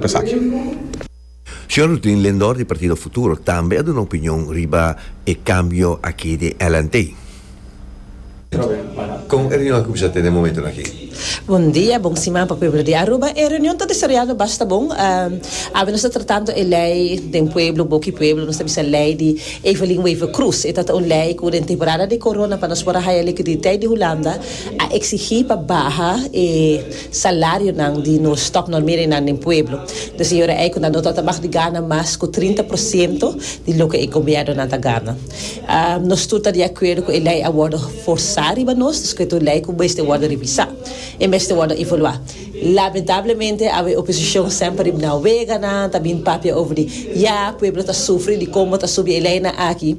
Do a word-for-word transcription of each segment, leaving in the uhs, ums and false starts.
Esaki. Señor Rutin Lindor di Partido Futuro tambe a duna opinion riba e cambio aki di L N T. Con e reunion a cuminsa den e momento aki? Bon dia, bon siman pa pueblo di Aruba. E reunion ta desaroyando basta bon. Um, awe nos ta tratando e ley di pueblo, boca di pueblo, nos ta bisa ley di Evelyn Wever-Croes. E ta un ley cu den temporada di corona, pa nos por haya liquidez di Hulanda, a exigi pa baha e salarionan di nos topnormeringen den pueblo. Dus señora Eiko nan no ta mag di gana mas cu trinta porciento di loke e gobierno nan ta gana. Um, nos tur ta di acuerdo cu e ley a wordo forsa riba nos, dus cu e ley cu mester wordo revisa y mester wordo evalua. Lamentablemente, e oposicion semper na wega nan, tambe papia over di, ja, pueblo ta sufri di con ta subi e ley aki.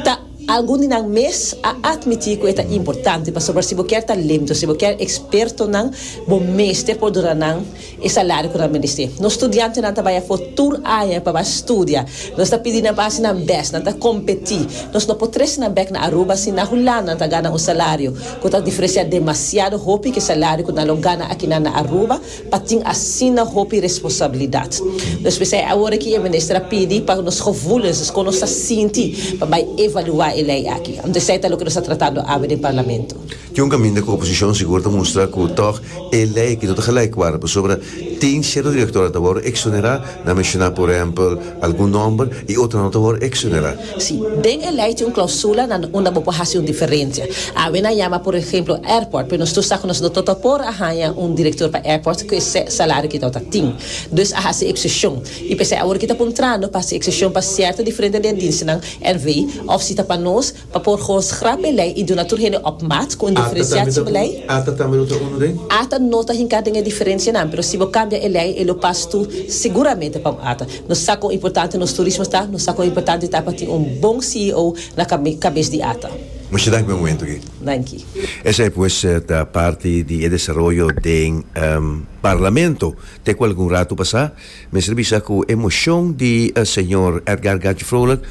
Ta algun di nan mes a admiti cu ta importante pasobra si bo kier talento, si bo kier expertonan, bo mester por duna nan e salario cu nan mester. Nos studiantenan ta bay afo tur aña pa studia. Nos ta pidiendo pa nan best, nan ta competi. Nos no por trece nan bek na Aruba si na Hulanda nan ta gana un salario cu ta diferencia demasiado hopi cu e salario cu nan lo gana aki na Aruba, pa tin asina hopi responsabilidad. Dus we zijn awor cu e minister a pidi pa nos gevoelens, dus con nos ta sinti, pa bay evalua e ley aki. Anto, esey ta loke nos ta tratando awe den parlamento. Tin un caminda cu oposicion sigur ta mustra cu toch e ley cu no ta gelijkwaardig pasobra tin cierto director ta wordo exonera, nan a menciona por ehempel algun nomber, y otro no ta wordo exonera. Si, den e ley tin un clausula na unda bo por haci un diferencia. Awe nan a yama, por ehempel, airport, pero nos tur sa cu nos no ta por haya un director pa airport cu e salario cu ta tin. Dus a haci excepcion. Y p'esey awor cu ta puntrando pa haci excepcion pa cierto diferente diensten N V of si ta pa nos pa por gewoon schrap e ley y duna tur hende op maat cu un diferenciatiebeleid. ATA tambe no ta uno den? ATA no ta hinca den e diferencianan, pero si bo cambia e ley, e lo pas tu seguramente pa ATA. Nos sa con importante nos turismo ta, nos sa con importante ta pa tin un bon C E O na cabe cabes di ATA. Muchas danki pa e momento aki. Danki. Esey pues ta parti di desaroyo den um, parlamento. Te cu algun rato pasa, mester bisa cu e mocion di uh, señor Edgar Gadji Vrolijk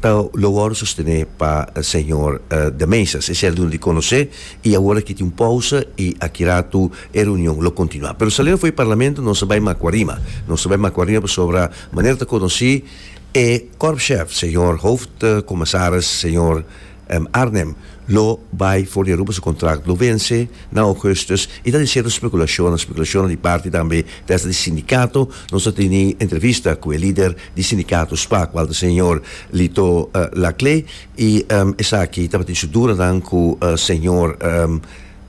ta lo wordo sosteni pa uh, señor uh, De Meza. Esey a duna di conoce y awor aki tin un pausa y aki rato e reunion lo continua. Pero saliendo for di parlamento, nos ta bay Macuarima. Nos ta bay Macuarima pasobra manera ta conoci e korpschef, señor hoofdcommissaris, señor um, Arnhem, lo bay for di Aruba, su contract lo vence na augustus y ta cierto speculacion, speculacion di parti tambe di sindicato. Nos a tin entrevista cu e lider di sindicato SPA, cual ta señor Lito uh, Laclé, y um, esaki tabata su duda cu uh, señor um,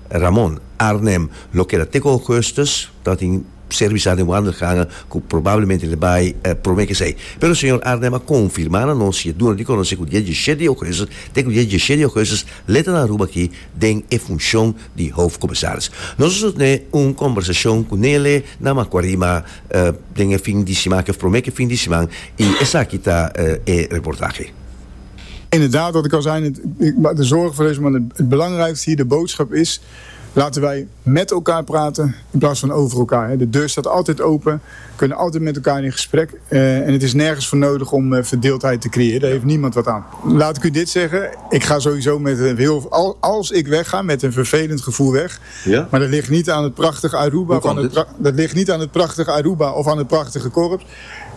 Ramon Arnhem lo keda te augustus, tabatin servicio den wandelgangen, cu probablemente e bay eh, prome cu esey. Pero señor Arnhem a confirma na nos, y duna di conoce cu dia diesshete di augustus, te cu dia diesshete di augustus, e ta na Aruba aki den e funcion di hoofdcommissaris. Nos a tin un conversacion cu ne na Macuarima uh, den fin di siman, cu prome fin di siman, y esaki ta uh, e reportahe. Inderdaad, wat ik al zei, het, de zorg voor deze man, het, het belangrijkste hier, de boodschap is: laten wij met elkaar praten in plaats van over elkaar. De deur staat altijd open, we kunnen altijd met elkaar in gesprek. Uh, en het is nergens voor nodig om uh, verdeeldheid te creëren. Daar heeft niemand wat aan. Laat ik u dit zeggen, ik ga sowieso met een heel, als ik wegga, met een vervelend gevoel weg. Ja? Maar dat ligt niet aan het prachtige Aruba. Van het, dat ligt niet aan het prachtige Aruba of aan het prachtige korps.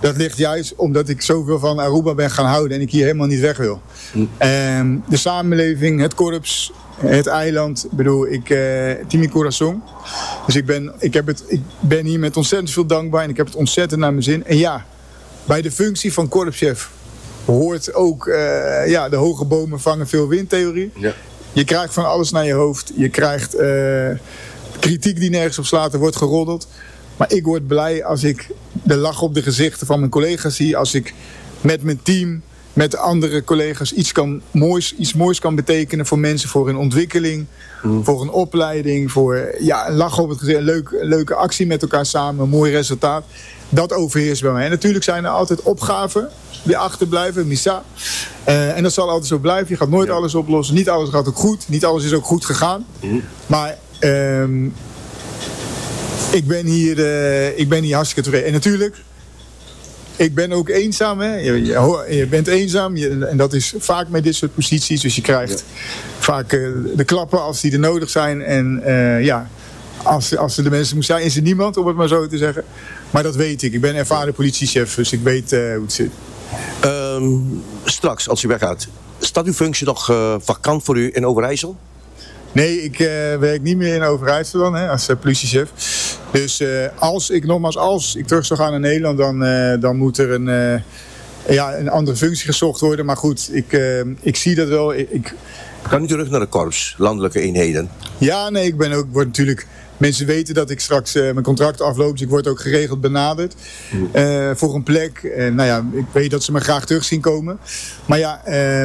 Dat ligt juist omdat ik zoveel van Aruba ben gaan houden en ik hier helemaal niet weg wil. Hm. Um, de samenleving, het korps, het eiland. Ik bedoel, ik, uh, tin mi curason. Dus ik ben, ik, heb het, ik ben hier met ontzettend veel dankbaar en ik heb het ontzettend naar mijn zin. En ja, bij de functie van korpschef hoort ook uh, ja, de hoge bomen vangen veel windtheorie. Ja. Je krijgt van alles naar je hoofd. Je krijgt uh, kritiek die nergens op slaat, er wordt geroddeld. Maar ik word blij als ik de lach op de gezichten van mijn collega's zie. Als ik met mijn team, met andere collega's iets, kan moois, iets moois kan betekenen voor mensen, voor hun ontwikkeling, mm. voor een opleiding, voor, ja, een lach op het gezicht, een, leuk, een leuke actie met elkaar samen, een mooi resultaat. Dat overheerst bij mij. En natuurlijk zijn er altijd opgaven die achterblijven, misa. Uh, en dat zal altijd zo blijven. Je gaat nooit ja. alles oplossen. Niet alles gaat ook goed. Niet alles is ook goed gegaan. Mm. Maar um, ik, ben hier, uh, ik ben hier hartstikke tevreden. En natuurlijk, ik ben ook eenzaam. Hè? Je, je, je bent eenzaam je, en dat is vaak met dit soort posities. Dus je krijgt ja. vaak uh, de klappen als die er nodig zijn. En uh, ja, Als, als er de mensen moest zijn, is er niemand, om het maar zo te zeggen. Maar dat weet ik. Ik ben ervaren politiechef, dus ik weet uh, hoe het zit. Um, straks, als u weggaat, staat uw functie nog uh, vakant voor u in Overijssel? Nee, ik uh, werk niet meer in Overijssel dan, hè, als uh, politiechef. Dus uh, als ik, nogmaals, als ik terug zou gaan naar Nederland, dan, uh, dan moet er een, uh, ja, een andere functie gezocht worden. Maar goed, ik, uh, ik zie dat wel. Ik, ik... Kan u terug naar de korps, landelijke eenheden? Ja, nee, ik ben ook, word natuurlijk... Mensen weten dat ik straks uh, mijn contract afloop, dus ik word ook geregeld benaderd uh, voor een plek. En, nou ja, ik weet dat ze me graag terug zien komen. Maar ja, uh,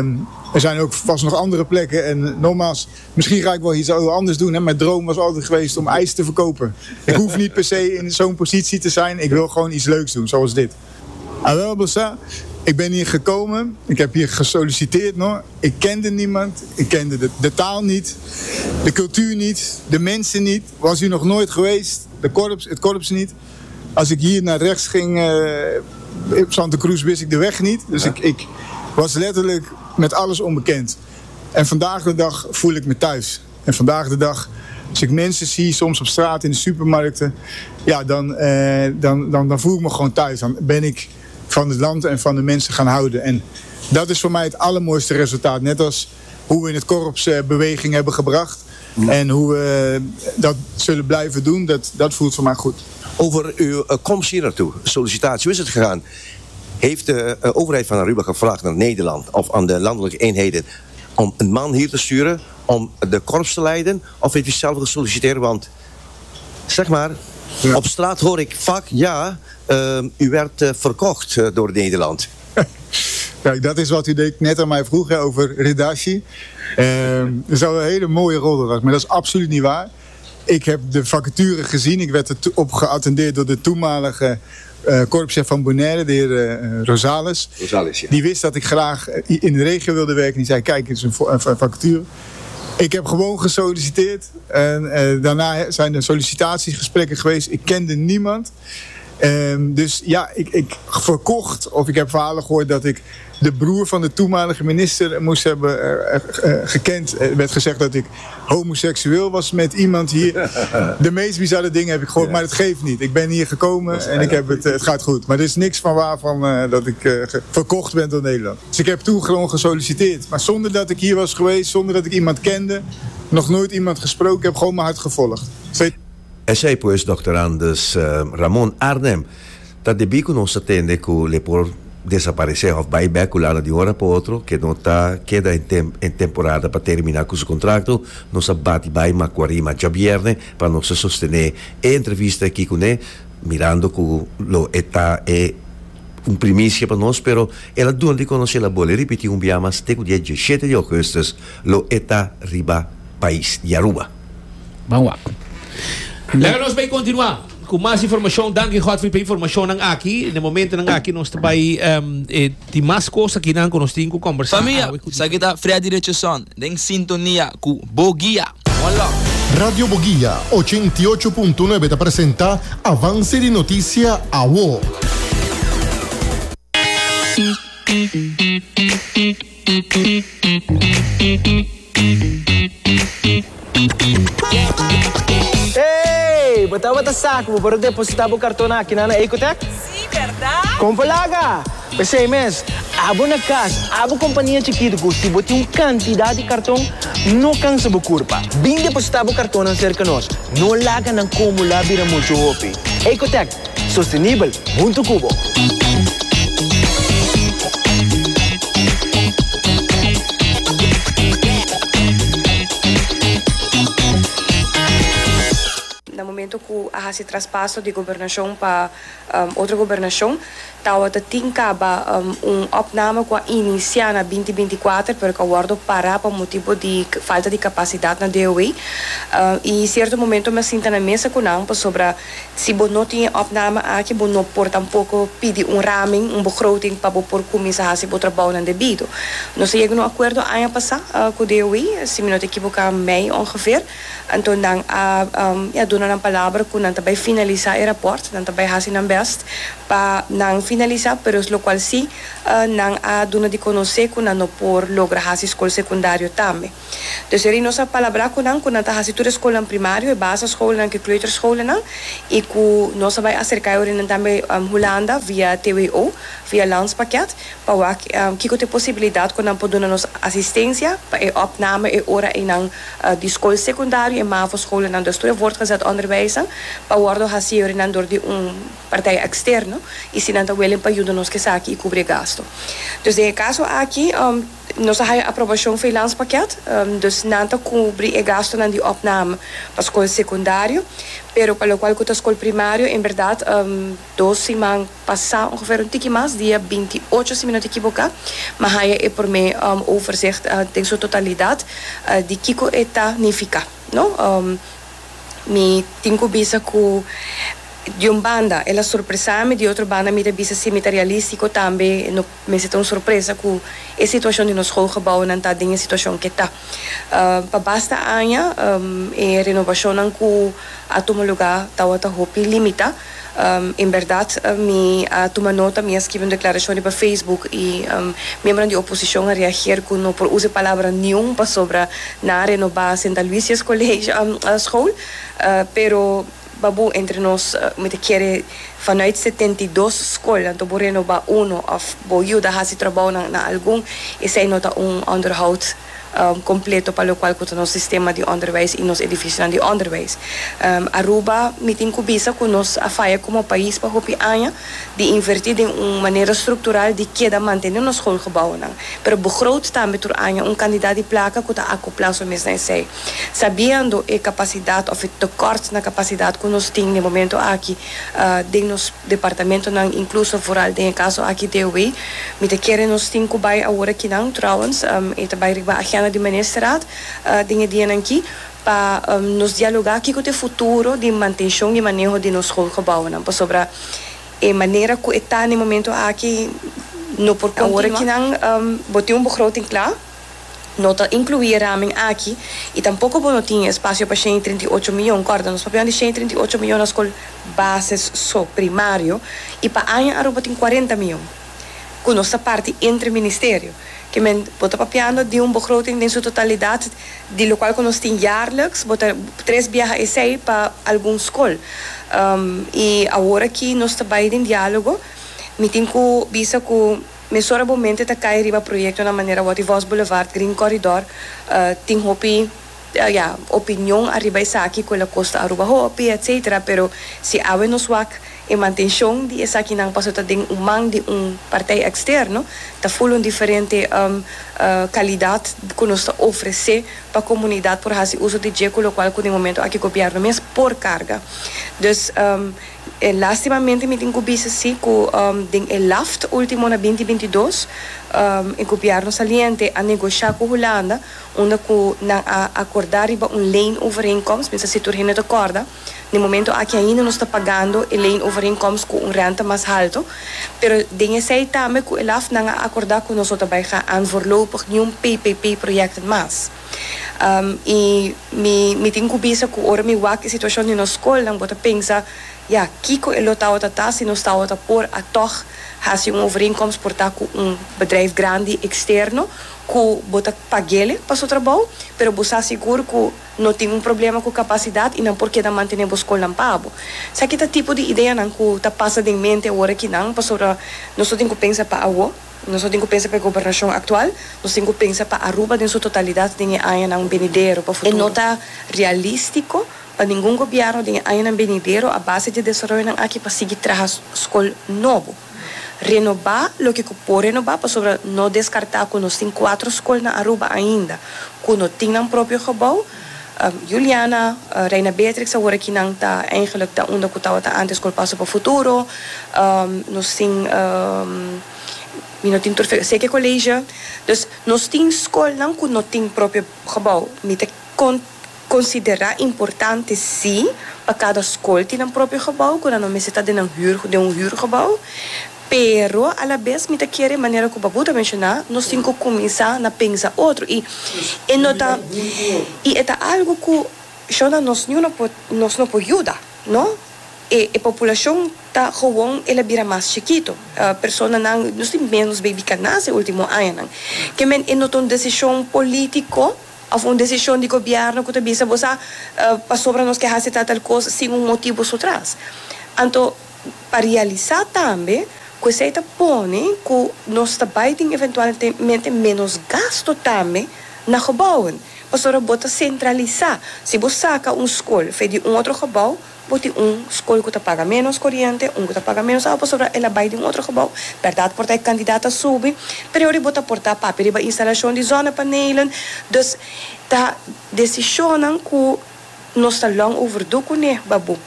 er zijn ook vast nog andere plekken. En nogmaals, misschien ga ik wel iets anders doen. Hè. Mijn droom was altijd geweest om ijs te verkopen. Ik hoef niet per se in zo'n positie te zijn. Ik wil gewoon iets leuks doen, zoals dit. Ah, wel, Bossa, ik ben hier gekomen. Ik heb hier gesolliciteerd nog. Ik kende niemand. Ik kende de, de taal niet. De cultuur niet. De mensen niet. Was hier nog nooit geweest. De korps, het korps niet. Als ik hier naar rechts ging, uh, op Santa Cruz, wist ik de weg niet. Dus ja. ik, ik was letterlijk met alles onbekend. En vandaag de dag voel ik me thuis. En vandaag de dag, als ik mensen zie, soms op straat, in de supermarkten, ja, dan, eh, dan, dan, dan voel ik me gewoon thuis. Dan ben ik van het land en van de mensen gaan houden. En dat is voor mij het allermooiste resultaat. Net als hoe we in het korps uh, beweging hebben gebracht. Mm. En hoe we dat zullen blijven doen, dat, dat voelt voor mij goed. Over uw komst hier naartoe, sollicitatie, hoe is het gegaan? Heeft de uh, overheid van Aruba gevraagd naar Nederland of aan de landelijke eenheden om een man hier te sturen om de korps te leiden? Of heeft u zelf gesolliciteerd? Want, zeg maar, ja. Op straat hoor ik vaak, ja, uh, u werd uh, verkocht uh, door Nederland. Kijk, dat is wat u net aan mij vroeg, hè, over Redashi. Uh, dat zou een hele mooie rol was, maar dat is absoluut niet waar. Ik heb de vacature gezien. Ik werd erop geattendeerd door de toenmalige uh, korpschef van Bonaire, de heer uh, Rosales. Rosales, ja. Die wist dat ik graag in de regio wilde werken. Die zei, kijk, het is een, een vacature. Ik heb gewoon gesolliciteerd. En uh, daarna zijn er sollicitatiegesprekken geweest. Ik kende niemand. Um, dus ja, ik, ik verkocht, of ik heb verhalen gehoord dat ik de broer van de toenmalige minister moest hebben uh, uh, gekend. Er werd gezegd dat ik homoseksueel was met iemand hier. De meest bizarre dingen heb ik gehoord, ja. Maar dat geeft niet. Ik ben hier gekomen en ik heb het, het gaat goed. Maar er is niks van waar van uh, dat ik uh, verkocht ben door Nederland. Dus ik heb toen gewoon gesolliciteerd. Maar zonder dat ik hier was geweest, zonder dat ik iemand kende, nog nooit iemand gesproken, ik heb gewoon mijn hart gevolgd. Esey pues doctorandus uh, Ramon Arnhem. Ta debi cu nos a tende cu e por desaparece of bay bek Hulanda di un ora pa otro, cu no ta keda den, tem den temporada pa termina cu su contrato, nos a bati bay Macuarima diabierne pa nos sostene e entrevista aki cu ne, mirando cu lo e ta e un primicia pa nos, pero el a duna di conoce, el a bolbe ripiti un biaha mas, te cu dia diesshete di augustus lo e ta riba pais di Aruba. Ban wak. Laga nos bay continua cu mas informacion. Danki Godfrey pa informacion aki. Na momento aki nos bay um, eh, tin mas cos aki nan cu nos tin cu combersa. Famia, esaki ta Freddy Richardson, den sintonia cu Boguia. One love. Radio Boguia ochenta i ocho punto nuebe ta presenta Avance di Noticia Awo. Hey, bo tabata sa cu bo por deposita bo carton aki na Ecotech? Si, berdad? Con por laga? Pesey mes, abo na cas, abo compania chikito cu si bo tin un cantidad di carton, no cansa bo curpa. Bin deposita bo carton cerca nos. No laga nan acumula bira mucho hopi. Ecotech, sostenibel, hunto cu bo. Na momento cu a haci traspaso di gobernacion pa um, otro gobernacion, tabata tin caba um, un opname cu a inicia na binti binticuater, pero cu a wordo para pa motibo di falta di capacidad na D O W. Uh, y cierto momento mi a sinta na mesa cu nan sobre si bo no tin opname aki, bo no por tampoco pidi un raming, un begroting pa bo por cuminsa haci bo trabou nan debido. Nos a yega na un acuerdo aña pasa uh, cu D O W, si mi no ta ekivoca mei ongeveer. Anto nan a um, ja, duna nan palabra cu nan ta bay finalisa e rapport, nan ta bay haci nan best. Pa nan finalisa, pero locual si uh, nan a duna di conoce cu nan no por logra hasi scol secundario tambe. Dus ey nos a palabra cu nan, cu nan ta hasi tur scol primario, e basisschool cu kleuterschool nan, y cu nos a bay acerca nan tambe um, Hulanda via T W O, via landspakket, pa wak um, kico ta e posibilidad cu nan por duna nos asistencia pa e opname e ora ey nan uh, di scol secundario e mavo scholen nan, dus tur voortgezet onderwijs, pa wordo hasi nan door di un partij externo y si nan ta willing pa yuda nos cu esaki y cubri gasto. Dus den e caso aki, um, nos a haya aprobacion pa landspakket, um, dus nan ta cubri e gasto nan di opname pa scol secundario, pero pa locual cu scol primario, en berdad, um, dos siman pasa, ongeveer un tiki mas, dia binti ocho, si mi no ta ekivoca, m'a haya e prome um, overzicht uh, den su totalidad uh, di kico e ta nifica, no? Um, mi tin cu bisa cu di un banda el a sorpresa mi, di otro banda mi ta bisa si mi ta realistico tambe, no mester ta un sorpresa cu e situacion di nos schoolgebouwen ta den e situacion cu ta. Uh, pa basta aña um, e renovacion cu a tuma luga tawata hopi limita. Um, en berdad, uh, mi a tuma nota, mi a skirbi un declaracion pa Facebook y um, miembro di oposicion a reageer cu no por usa palabra ningun pasobra nan a renoba Sint Aloysius College um, school, uh, pero babu, entre nos, uh, mi ta kere vanuit setenta y dos scol, anto bo renoba uno of bo yuda hasi trabou na, na algun, esey no ta un onderhoud um, completo pa locual cu nos sistema di onderwijs y nos edificio di onderwijs. Um, Aruba, mi tin cu bisa cu nos a faya como pais pa hopi aña di inverti den un manera structural di keda mantene nos schoolgebouwen. Pero begroot tambe tur aña un cantidad di placa cu ta acopla su mes na esey. Sabiendo e capacidad of e tekort na capacidad cu nos tin na e momento aki uh, den nos departamento nan, incluso vooral den caso aki D O W, mi ta kere nos tin cu bay awor aki nan trouwens, um, e ta bay riba agenda di ministerraad uh, den e dianan aki pa um, nos dialoga aki cu e futuro di mantencion y maneho di nos schoolgebouwen. Pasobra e manera cu ta na e momento aki no por awor aki nan um, bo tin un begroting klaar, no ta inclui raming aki y tampoco bo no tin espacio pa shen trinta y ocho miyon. Corda, nos papiando di shen trinta y ocho miyon na scol basis so primario y pa aña Aruba tin cuarenta miyon cu nos parti entre ministerio. Kiermen, bo ta papiando di un begroting in su totalidad di locual cu nos tin jaarlijks, bo ta tres biaha esey pa algun scol. Um, y awor aki nos ta den dialogo, mi tin cu bisa cu mesora bo mente ta cay riba proyecto na manera Watty Vos Boulevard, Green Corridor, uh, tin hopi uh, ja, opinion ariba esaki cu el a costa Aruba hopi, et cetera. Pero si awe nos wak e mantencion di esaki nan paso ta den un man di un partij externo, ta full un diferente um, uh, calidad cu nos ta ofrece pa comunidad por haci uso di dje, cu locual cu den momento aki gobierno mes por carga. Dus um, eh, lastimamente mi tin cu bisa si cu um, den e LAFT ultimo na dos mil binti dos, um, e gobierno saliente a negocia cu Hulanda, unda cu nan a acorda riba un leenovereenkomst, mi si tur hende ta corda. Na momento aki ainda nos ta pagando e leenovereenkomst cu un rente mas halto, pero den esey tambe cu e LAFT nan a acorda cu nos tambe gaan aan voorlopig ningun P P P projecten mas. Um, y mi mi tin cu bisa cu ora mi wak e situacion di nos scol, dan bo ta pensa, ja, kico e lo tawata si nos tawata por a toch hasi un overeenkomst por ta cu un bedrijf grandi externo cu bo ta pag'e pa su trabou, pero bo sa sigur cu no tin un problema cu capacidad y nan por keda mantene bo scol nan pa bo. Esaki ta tipo di idea nan cu ta pasa den mente awor aki nan, pasobra nos tin cu pensa pa awo, nos tin cu pensa pa e gobernacion actual, nos tin cu pensa pa Aruba den su totalidad den aña nan venidero pa futuro. E no ta realistico pa ningun gobierno den aña venidero a base di desaroyo nan aki pa sigui traha scol nobo. Renoba loke por renoba, pasobra no descarta cu nos tin cuater scol na Aruba ainda cu no tin un propio gebouw. Um, Juliana, uh, Reina Beatrix, awor aki nan ta eigenlijk ta unda cu ta antes scol Paso pa Futuro. Um, nos tin um, mi no tin tur Seke College. Dus nos tin scol nan cu no tin propio gebouw. Mi ta con considera importante si pa cada scol tin un propio gebouw, cu no mester ta den un huur, den un huurgebouw. Pero, a la vez, mi ta kere manera cu Babu a menciona, nos tin cu cuminsa na pensa otro. Y, e no ta, y ta algo cu shona nos no por, nos no por yuda, no? E, e poblacion Ta gewoon el a bira mas chikito. Uh, personanan, nos tin menos baby cu a nace ultimo añanan. Kiermen e no ta un decision politico of un decision di gobierno cu ta bisa bo uh, pasobra nos kier haci tal cos sin un motibo su tras. Anto, pa realisa tambe cu esey ta pone cu nos ta bay tin eventualmente menos gasto tambe na gebouwen. Pasobra bo ta centralisa. Si bo saca un scol for di un otro gebouw, bo tin un scol cu ta paga menos coriente, un cu ta paga menos awa, pasobra el a bay den un otro gebouw. Berdad, por ta e cantidad a subi, pero bo ta por ta papia riba instalacion di zonnepanelen. Dus ta decision cu nos ta lang overdue cune, babu.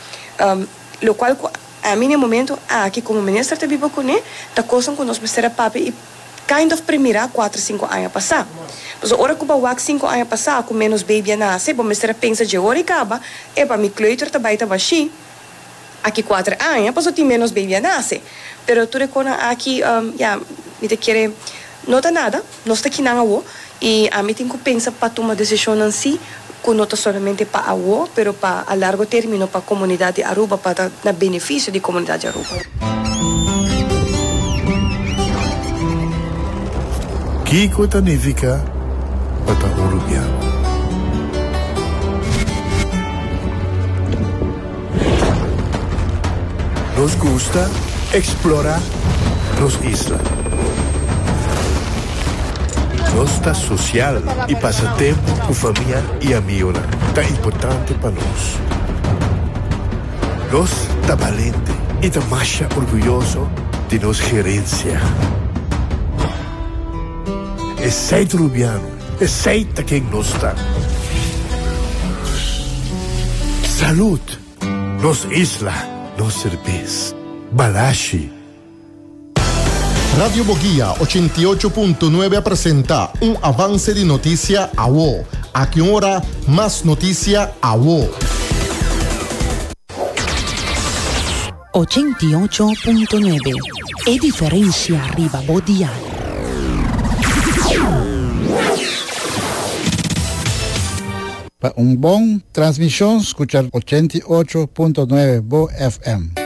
Um, locual ami na e momento aki como minister ta biba cune, ta cos cu nos mester a papia y kind of premira cuater, cinco aña pasa. Mas ora cu bo wak cinco aña pasa, cu menos baby a nace, bo mester a pensa di ora caba, e pa mi kleuter ta bay ta bashi. Aki cuater aña, paso tin menos baby a nace. Pero tur cos aki, um, ja, mi ta kere no ta nada, nos ta aki awo, y ami tin cu pensa pa tuma decision asina, cu no ta solamente pa awo, pero pa a largo termino pa comunidad di Aruba, pa na beneficio di comunidad di Aruba. Kico ta nifica pa ta Arubiano? Nos gusta explora nos isla. Nos ta social y pasa tempo cu famia y amigo. Ta importante pa nos. Nos ta valiente y ta mas orguyoso di nos herencia. Esey ta Arubiano, esey ta ken nos ta. Salud, nos isla, nos servicio. Balashi. Radio Bo Guia ochenta y ocho punto nuebe presenta un avance di noticia awo. Aki ora, mas noticia awo. ochenta y ocho punto nuebe. E diferencia riba bo dial. Pa un bon transmision, scucha ochenta y ocho punto nuebe Bo F M.